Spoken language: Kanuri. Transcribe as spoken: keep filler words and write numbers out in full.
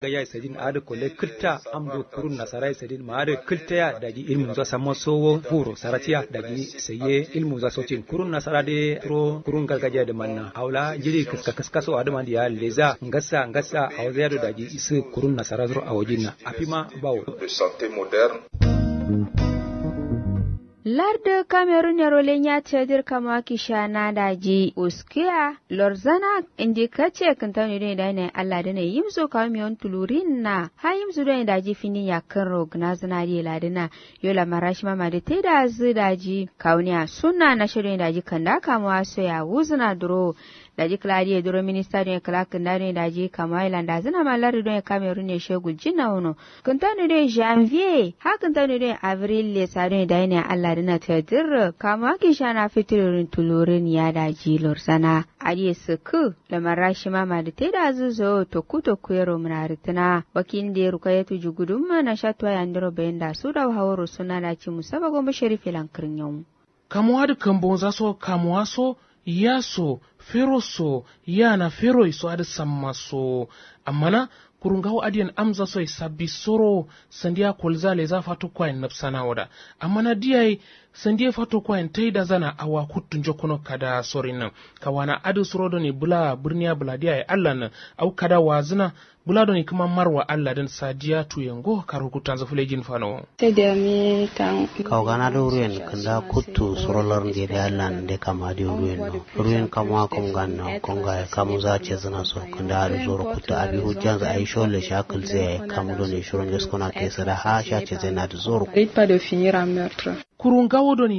Gaja ye sadin adǝ kolle kǝlta amdo kurun nasara ye sadin ma adǝ kǝlta ya daji ilmunza samma sowo furo saratiya daji saye ilmunza sotin kurun nasara dǝ ye turo kurun gargajiya dǝ manna awo la jiri kǝska kǝska so adǝ man diya leza ngassa ngassa awo zai ado daji isǝ kurun nasara suro awojin na afima bawo. Lardǝ kamerun yero lenya cedir kama kishana daji uskiya lorzana indi kace kǝntano done dane allah done yimso kawo miyon tulurin na ha yimso done daji findin yakkǝnro gǝnazǝna diye ladǝna. Yo lamara shima madi taidazǝ daji kawuniya sunna nasha done daji kanda kamuwa soya wuzǝna duro. Daji kǝla diye duro minista done kǝla kǝnda done daji kamuwa ye landazǝna ma lardǝ done kamerun ye she guljin na wono. Kǝntano done janvier ha kǝntano done avril lesa done dayine allah dǝna tadir kamuwa kishana fitirorin tulurin ya daji lorzana. Adiye sǝkkǝ lamara shima madi taidazǝ zowo tokku tokku yero mǝnaritǝna. Wakilinde rukayetu jugudumma nasha tuwa yandiro bayinda sudawo haworo sunna daci musaba gombo sharif ye lankǝrnyawu. Kamuwa dǝ kambonza so kamuwa so ya so fero so ya na fero ye so adǝ samma so. Amma na kuru ngawo adiyen amza so ye sabbi soro sandiya kolza leza fato kwayen nabsana wo da. Amma na diya ye sandiye fato kwayen taidazana awa kuttu njokkono kada sorin nan. Kawana adǝ suro done bǝla bǝrniya bǝladiya ye allah nan. Au kada wazǝna bǝla done kǝma marwa allah dǝn sadiya tuye ngo karo kuttanzǝ fǝlejin fano. Kawu gana dǝ ruyen kǝnda kuttu suro larnge dǝ allah nde kama dǝ ruyen no. Ruyen kamuwa kam ganna konga ye kamuza cezǝna so kǝnda adǝ zoro kuttu abi hujjanzǝ ayi shole sha kǝlze yayi kamu done shiro njoskona ke sǝda ha sha cezena dǝ zoro. Kuru ngawo done